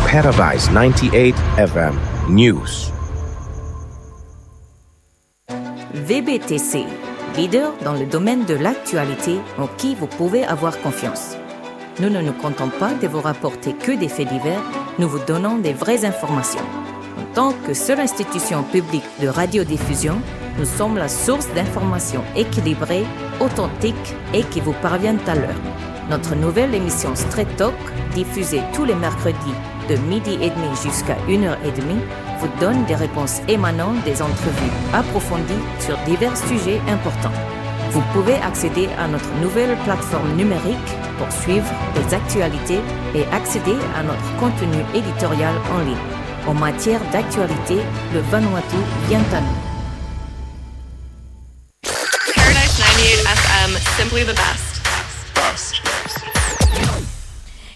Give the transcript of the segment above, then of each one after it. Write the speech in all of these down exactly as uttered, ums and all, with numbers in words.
Paradise ninety-eight F M News. V B T C, leader dans le domaine de l'actualité en qui vous pouvez avoir confiance. Nous ne nous contentons pas de vous rapporter que des faits divers, nous vous donnons des vraies informations. En tant que seule institution publique de radiodiffusion, nous sommes la source d'informations équilibrées, authentiques et qui vous parviennent à l'heure. Notre nouvelle émission Straight Talk, diffusée tous les mercredis de midi et demi jusqu'à une heure et demie, vous donne des réponses émanant des entrevues approfondies sur divers sujets importants. Vous pouvez accéder à notre nouvelle plateforme numérique pour suivre les actualités et accéder à notre contenu éditorial en ligne. En matière d'actualité, le Vanuatu vient à nous. Paradise ninety-eight F M, simply the best.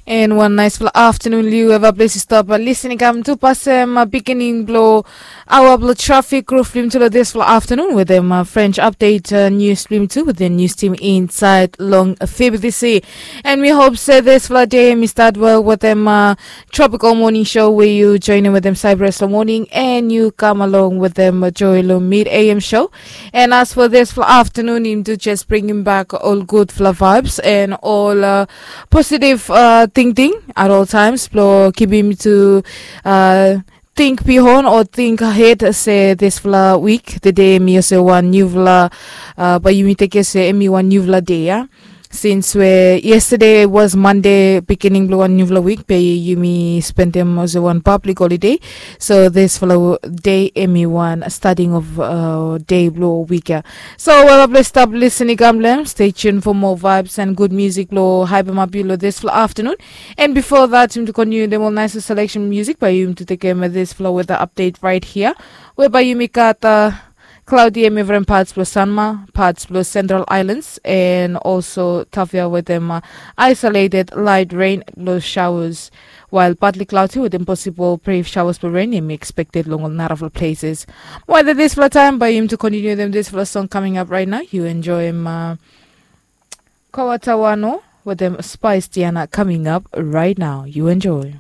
And one nice afternoon, Liu. Eva, please stop, uh, listening. Kam tu pasem, uh, beginning blow. Our blow traffic roof lim to this for afternoon with them, uh, French update, uh, news lim to with the news team inside long, uh, F B C. And we hope say this for day, we start well with them, uh, tropical morning show where you join in with them Cyprus morning and you come along with them, uh, Joy Lo mid A M show. And as for this for afternoon, him do just bring him back all good for vibes and all, uh, positive, uh, thinking at all times. Blo keep him to, uh, think bihon or think ahead se this fla week, the day mi ose one new fla, uh, but you mi take se emi one new fla day, yeah. Since we yesterday was Monday, beginning blue one new fla week, pe you mi spend them as one public holiday. So this fla day emi one starting of, uh, day blue week, yeah. So well, please stop listening, Gamblem. Stay tuned for more vibes and good music. Lo hype up below this fla afternoon. And before that, him to continue them all nice selection music by him to take care of this flow weather update right here. Whereby you make out, uh, cloudy and different parts plus Sanma, parts plus Central Islands, and also Tafia with them, uh, isolated light rain, low showers, while partly cloudy with them possible brief showers for rain expected along a lot of places. While this flow time by him to continue them this flow song coming up right now, you enjoy him, uh, Kawatawano with them Spice Diana coming up right now. You enjoy.